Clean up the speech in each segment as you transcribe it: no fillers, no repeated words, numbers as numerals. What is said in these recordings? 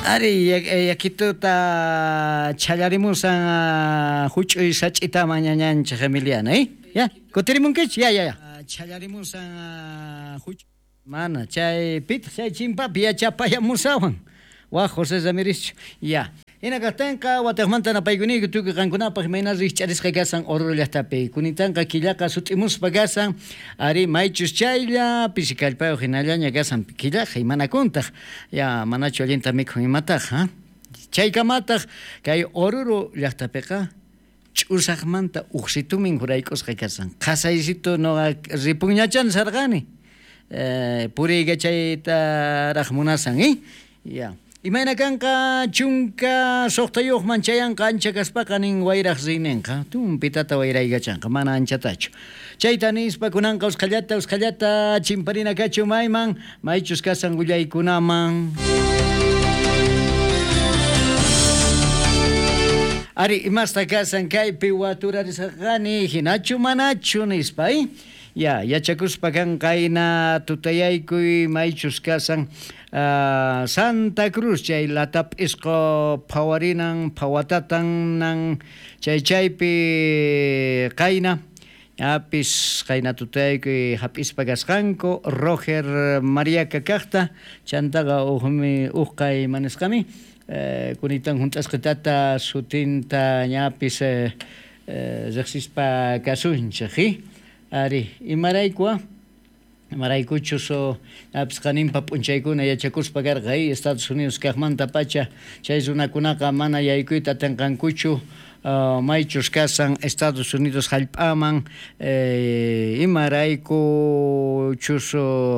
Ari, yakituta chhallarimusan juch'uy sach'itaman ñañanchej Emiliana, ¿eh? Ya, kutirimunkichu? Ya, ya, ya. Chhallarimusan mana, chay pitaq chay chimpapi yachapayamusawan. Waj José Ramírez. Ya. Hina kajtenqa watejmanta napaykuniyku tukuy qankunapaj imayna rijch'arisqa kasan Oruro llajtapi. Kunitanqa killaqa sut'imuspa kasan, ari maychus chaylla pisi kallpayuq hinallaña kasan killaqa imanakuntaq. Ya, manachu allinta mikhun imataq, ha? Chaykamataq kay Oruro llajtapiqa ch'usaqmanta ujsitumin jurayk'usqa kasan. Qhasaysitu noqa ripunñachan sarqani. Puriykachaytaraq munasan, ¿eh? Ya. Imayna kanqa 16man chayanqa ancha kaspaqa nin wayraq riynenqa tumpitata wayraykachanqa mana anchatachu. Chayta nispa kunanqa usqhallata usqhallata chimparina kachu mayman maychus kasan willaykunaman. Ari imasta kasan kaypi waturarisqani hinachu manachu nispa, ¿eh? Ya, yachakuspa kan qayna tutayaykuy maychus kasan Santa Cruz chay latap'isqo phawarinan phawatatanan chay chaypi qayna apis qayna tutayaykuy hap'ispa kasqanku Roger Mariaca kaqta chantaqa ujmi ujqay manisqami kunitan hunt'asqitata sutinta ñapis riqsispa kasunchik, Ari, imarayku imaraykuchus apis qaninpa p'unchaykuna yachakuspa karqa Estados Unidos kaqmanta pacha chay runakunaqa mana yaykuyta atinqankuchu maychus kasan Estados Unidos hallp'aman imaraykuchus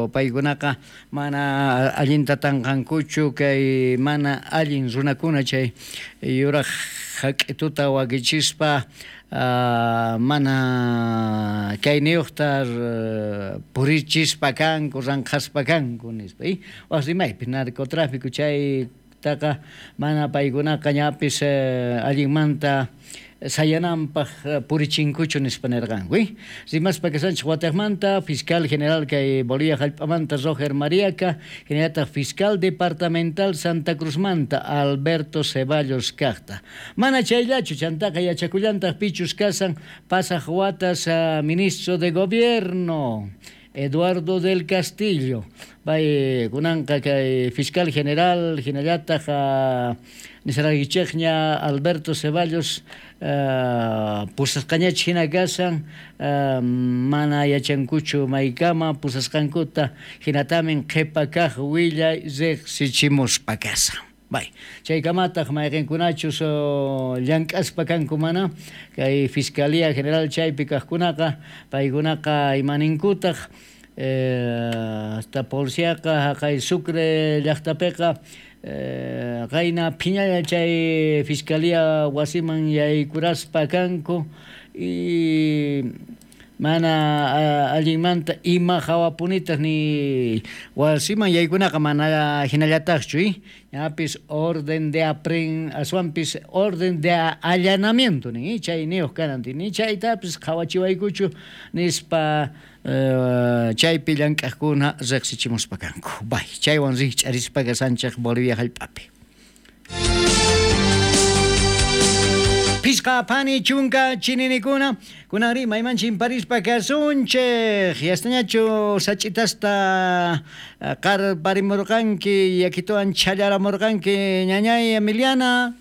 paykunaqa mana allinta tanqankuchu kay mana allin runakuna chay yuraq hak'ituta wakichispa mana kayniyuqta purichispa kanku ranqhaspa kanku nispa, waj rimaypi narcotráfico chaytaqa mana paykunaqa ñapis allinmanta sayananpaj purichinkuchu nispa nirqanku, Rimaspa kasanchik watejmanta fiscal general kay Bolivia hallp'amanta Roger Mariaca, hinallataq fiscal departamental Santa Cruzmanta Alberto Ceballos kaqta. Mana chayllachu chantaqa yachakullantaq pichus kasan pasaq watas ministro de gobierno Eduardo del Castillo. Bay kunanqa kay fiscal general hinallataq nisaraykichikña Alberto Ceballos pusasqañachik hina kasan mana yachankuchu maykama pusasqankuta hinatamin qhipa kaq willay riqsichimuspa kasan. Bay, chaykamataq mayqinkunachus llank'aspa kanku mana kay Fiscalía General chaypi kaqkunaqa paykunaqa imaninkutaq hasta policiaqa haqay Sucre llaqtapiqa qayna phiñalla chay Fiscalía wasiman yaykuraspa kanku y mana allinmanta ima hawapunitaq ni wasiman yaykunaqa mana hinallataqchu, ñapis orden de aswanpis orden de allanamiento nin, chayniyuq kanan ni chaytapis qhawachiwaykuchu nispa chaypi llank'aqkuna riqsichimuspa kanku. Bay, chaywan rikch'arispa kasanchik Bolivia hallp'api. Pisqa phani chunka chininikuna kunanri mayman chimparispa kasunchik yastañachu sach'itasta qarparimurqanki yakituwan chhallaramurqanki ñañay Emiliana.